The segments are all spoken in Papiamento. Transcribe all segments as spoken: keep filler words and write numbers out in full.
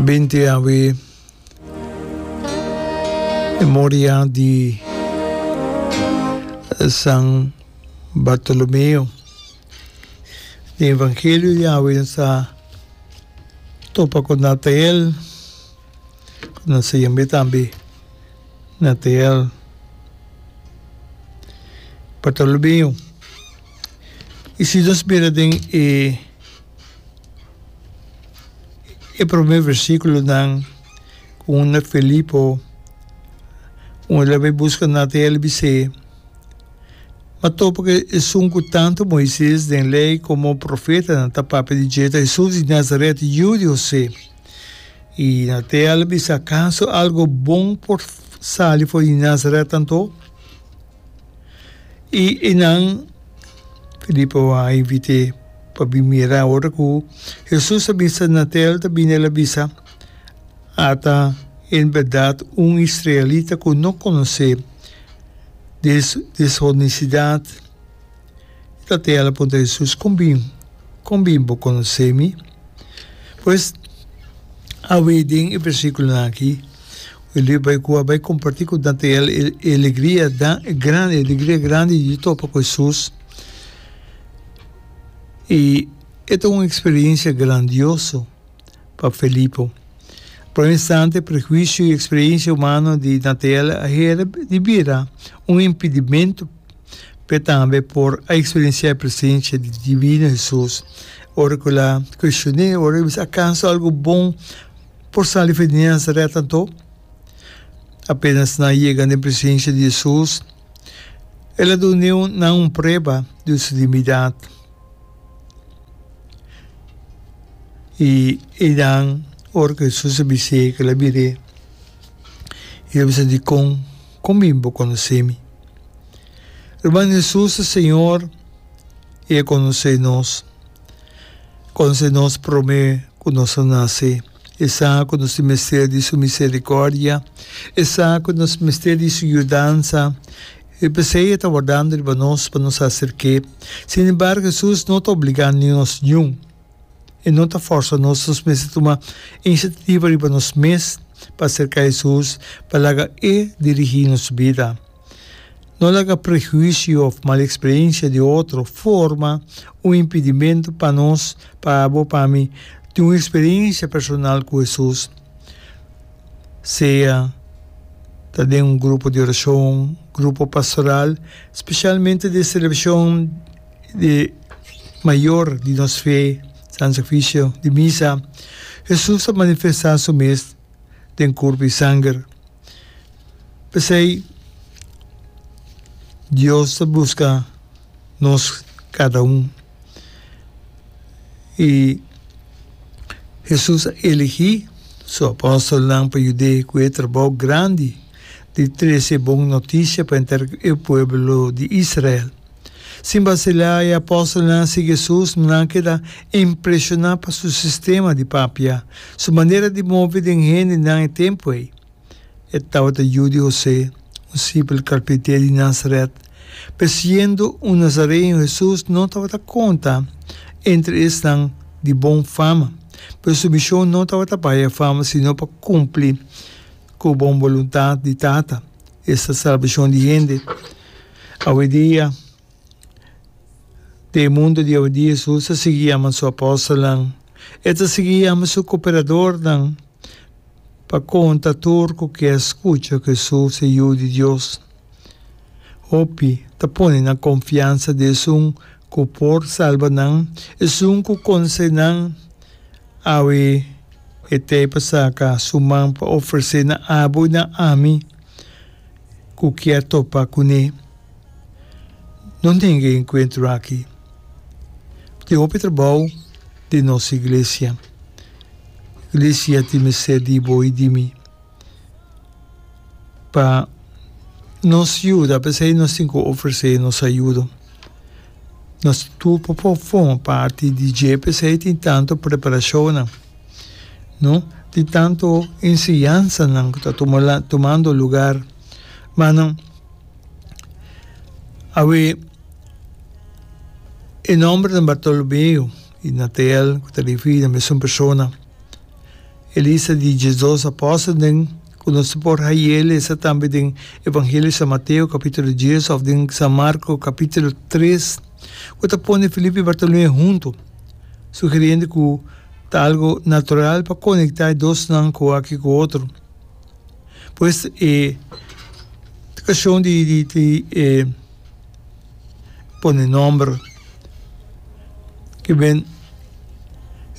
Binti awe memoria di San Bartolomeo. Den evangelio di awe nos ta topa ku Natael, ku nos ta yam'é tambe Natael Bartolomeo. I si nos mira den e E promé versíkulonan ku unda Filipo un el a bai buska Natanael bis'é, Ma topa ku esun ku tantu Moises den Lei komo profetanan ta papia di dje ta Hesus di Nazaret, yu di Hosé. I Natanael a bisa, Akaso algu bon por sali for di Nazaret anto? I einan Filipo a invit'é pa bin mira. Ora ku Hesus a bisa Natel ta bini, el a bisa, Ata en bèrdat un israelita ku no konosé deshonestidat. I Natel a puntra Hesus, Kon bin, kon bin bo konosé mi? Pues, awe den e versíkulonan akí, Elí bai ku a bai kompartí ku Natanael e alegria grandi, e alegria grandi di topa ku Hesus. I e ta un eksperensia grandioso pa Felipo. Por un instante, prehuisio i eksperensia humano di Natanael a hera di bira un impedimentu p'e tambe por a eksperensiá e presensia di divino Hesus. Ora ku el a kuestion'é, ora el a bisa, Akaso algu bon Por sali for di Nazaret anto? Apenas nan yega den presencia di Jesus, el a dun'e nan un prueba di su divinidad. I einan, ora cu Jesus a bis'é cu el a bir'é, el a bisa, Dicon, con bin bo conoce mi? Ruman, Jesus ta Señor i e conoce nos. Conoce nos prome cu nos a nace. E sa cu nos tin mester di su misericordia. E sa cu nos mester di su yudansa. I p'esei e ta wardando riba nos pa nos acerk'é. Sin embargo, Jesus no ta obliga nos niun. E no ta forsa nos. Nos mester tuma iniciativa riba nos mes pa acerca Jesus, pa laga E dirigi nos bida. No laga prehuisio of mal experiencia di otro forma un impedimento pa nos, pa abo, pa mi, tin un experiencia personal cu Jesus. Sea ta den un grupo di oracion, grupo pastoral, specialmente den celebracion di mayor di nos fe, San Sacrificio di Misa, Jesus ta manifesta su mes den curpo y sanger. P'esei, Dios ta buska nos kada un. I Hesus a eligí su apòstelnan pa yud'é ku e trabou grandi di trese e bon notisia pa henter e pueblo di Israel. Sin basilá, e apòstelnan a sigui Hesus, nan a keda impreshoná pa su sistema di papia, su manera di move den hendenan e tempu ei. E tabata yu di Hosé, un simpel karpinté di Nazaret. Pero siendo un nazareño, Hesus no tabata konta entre esnan di bon fama. Pero su mishon no tabata pa haya fama, sino pa kumpli ku bon boluntat di Tata, esta salbashon di hende. Awendia, den e mundu di awendia, Hesus ta sigui yama su apòstelnan. E ta sigui yama su kooperadornan. Pa konta tur ku ke skucha ku Hesus e Yu di Dios. Hopi ta pone nan konfiansa den esun ku por salba nan, esun ku konosé nan. Awe e t'ei pa saka su man pa ofresé na abo i na ami ku kier topa kuné. No nenga e enkuentro aki. Tin hopi trabou den nos iglesia. Iglesia tin mester di bo i di mi pa nos yuda. P'esei nos tin ku ofresé nos ayudo. Nos tur por forma parti di dje. P'esei tin tantu preparashonnan, no? Tin tantu enseñansanan ku ta tumando lugar. Manan, awe e nòmbernan Bartolomeo i Natanael ku ta referí na mesun persona. E lista di diesdos apòstelnan ku nos por haña lesa tambe den Evangelio di San Mateo kapítulo dies òf den San Marko kapítulo tres, ku ta pone Felipe i Bartolomé huntu, sugeriendo ku ta algu natural pa konektá e dosnan ku aki ku otro. Pues e kashon di di di e pone nòmber ke ben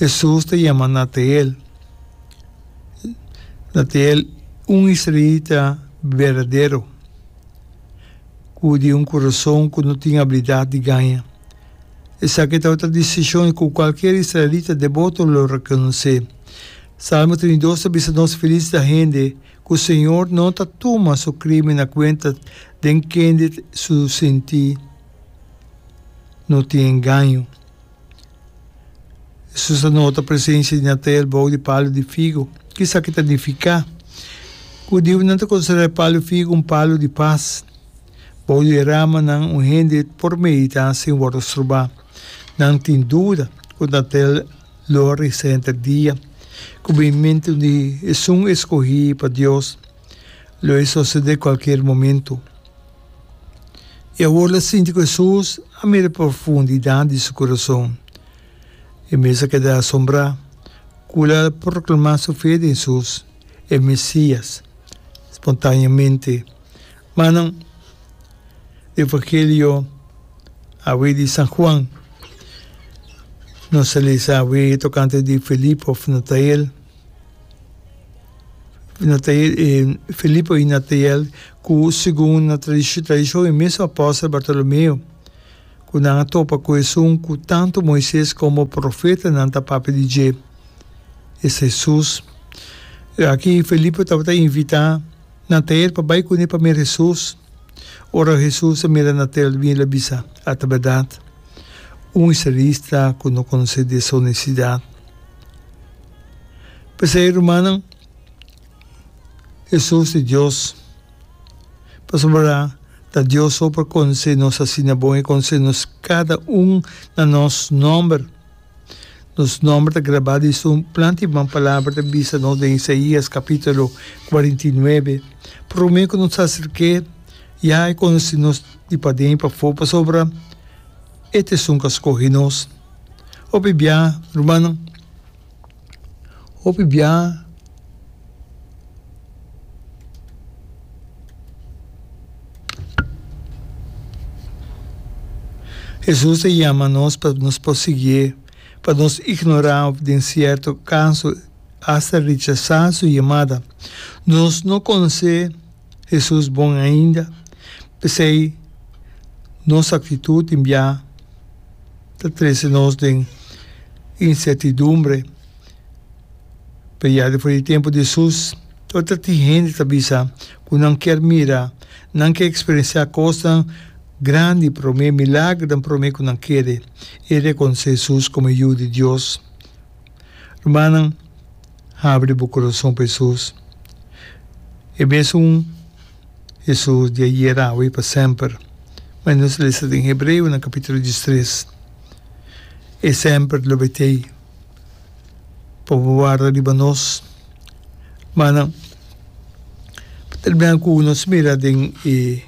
Hesus ta yama Natael. Natael, un israelita berdadero ku di un kurason ku no tin abilidat di gaña. Esaki tabata desishon ku kualkier israelita deboto lo rekonosé. Salmo trinta i dos ta bisa nos, Felis ta hende ku Señor no ta tuma su krimen na kuenta, den kende su sintí no tin engaño. Hesus a nota presensia di Natael bou di palu di figu. Ki esaki ta nifiká? Ku hudiunan ta konsiderá e palu di figu un palu di pas. Bou di e ramanan un hende por meditá sin wòrdu strobá. Nan tin duda ku Natael lo a resa henter dia ku binimentu di esun eskohí pa Dios lo e sosodé kualkier momentu. I awor lo sinti ku Hesus a mira e profundidat di su kurason. E mes a keda asombrá ku el a proklamá su fe den Hesus, e Mesias, spontáneamente. Manan, di Evangelio awe di San Juan, nos a lesa awe tokante di Felipe òf Natael. Natael, Felipe i Natael, ku segun na tradishon e mesun apòstel Bartolomeo, ku nan a topa ku esun ku tantu Moises komo profetanan ta papia di dje, esta Hesus. Aki Felipe tabata invitá Natael pa bai kuné pa mira Hesus. Ora Hesus a mira Natael bin, el a bisa, Ata bèrdat, un israelista ku no konosé desonestidat. P'esei, rumannan, Hesus di Dios, pasobra ta Dios so por konosé nos asina bon, e konosé nos kada un na nos nòmber. Nos nòmber ta grabá den su planta i ban palabra ta bisa nos den Isaías kapítulo kuarenta i nuebe. Promé ku nos aserk'é, ya e konosé nos di paden i pafó, pasobra e ta esun ku a skohe nos. Hopi bia, rumannan, hopi bia. Hesus ta yama nos pa nos por siguié, pa nos ignorá òf den sierto kaso asta rechasá su yamada. Nos no konosé Hesus bon ainda, p'esei nos aktitut tin bia ta trese nos den insertidumbre. Pero ya despues di tempu di Hesus, tabata tin hende ta bisa ku nan kier mira, nan ke eksperensiá kosnan grandi promé, milagernan promé ku nan kere i rekonosé Hesus komo e Yu di Dios. Rumannan, habri bo kurason pa Hesus. E mesun Hesus di ayer, awe i pa semper. Manera nos lesa den Hebreonan kapítulo diestres, E semper lo betei. Pa bo warda riba nos. Mana, pa terminá ku nos mira den e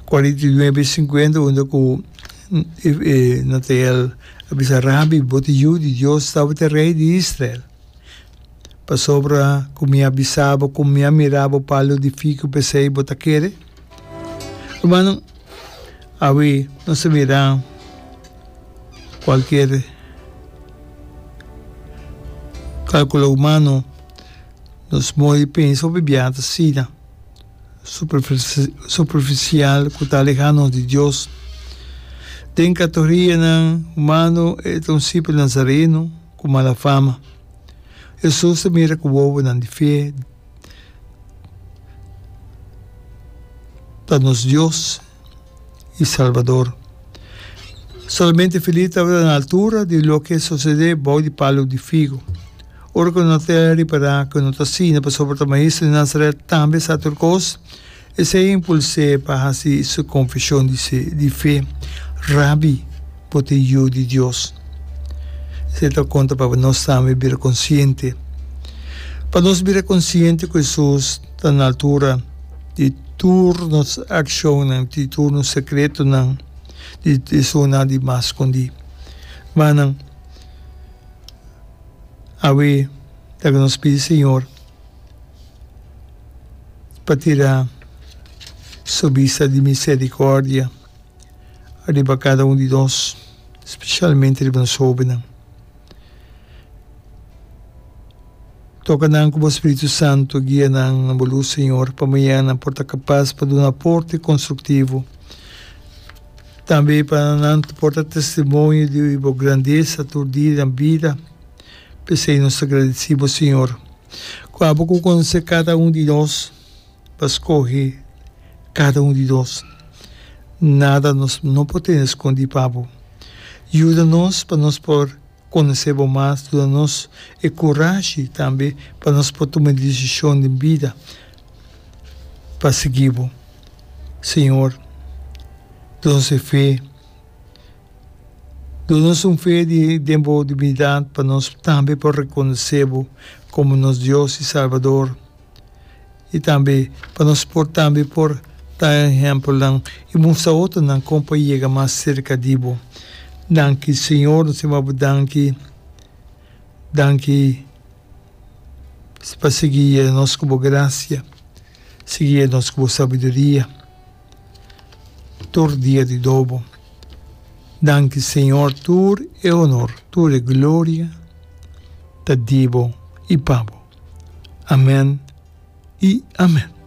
kuarenta i nuebe sinkuenta unda ku e Natael a bisa, Rabi, bo ta Yu di Dios, tabata e Rei di Israel. Pasobra ku mi a bisa bo ku mi a mira bo palu di fiku, p'esei bo ta kere? Rumannan, awe nos ta mira kualkier kalkulo humano, nos modo di pensa hopi bia ta asina superfisial ku ta aleha nos di Dios. Den kategorianan humano e ta un simpel nazareno ku mala fama. Hesus ta mira ku wowonan di fe ta nos Dios i Salbador. Solamente Felipe tabata na altura di loke a sosodé bou di palu di figu. Ora ku Natanael a ripará ku no ta asina pasobra ta maestro di Nazaret tambe sa tur kos, esei a impuls'é pa hasi su konfeshon di fe, Rabi, bo ta e Yu di Dios. Esei ta konta pa nos tambe bira konsiente. Pa nos bira konsiente ku Hesus ta na altura di tur nos akshonnan, di tur nos sekretonan, di esunnan di mas skondí. Rumannan, awe ta ku nos pidi Señor pa tira su bista di misericordia riba kada un di nos, spesialmente riba nos hóbennan. Toka nan ku bo Spiritu Santu, guia nan na bo lus, Señor, pa mañana nan por ta kapas pa duna aporte konstruktivo, tambe pa nan por ta testimonio di bo grandesa tur dia di nan bida. P'esei nos ta gradisí bo, Señor, ku abo ku konosé kada un di nos, pa skohe kada un di nos. Nada nos no por tene skondí pa bo. Yuda nos pa nos por konosé bo mas, duna nos e kurashi tambe pa nos por tuma e desishon den bida pa sigui bo. Señor, duna nos e fe, duna nos un fe di den bo divinidad pa nos tambe por rekonosé bo komo nos Dios i Salbador. I tambe pa nos por tambe por ta ehempelnan i mustra otronan kon pa yega mas serka di bo. Danki Señor, nos tin bo danki, danki pa sigui yega nos ku bo grasia, sigui yega nos ku bo sabiduria tur dia di dobo. Danki Señor, tur e honor, tur e gloria ta di bo i pa bo. Amen i amen.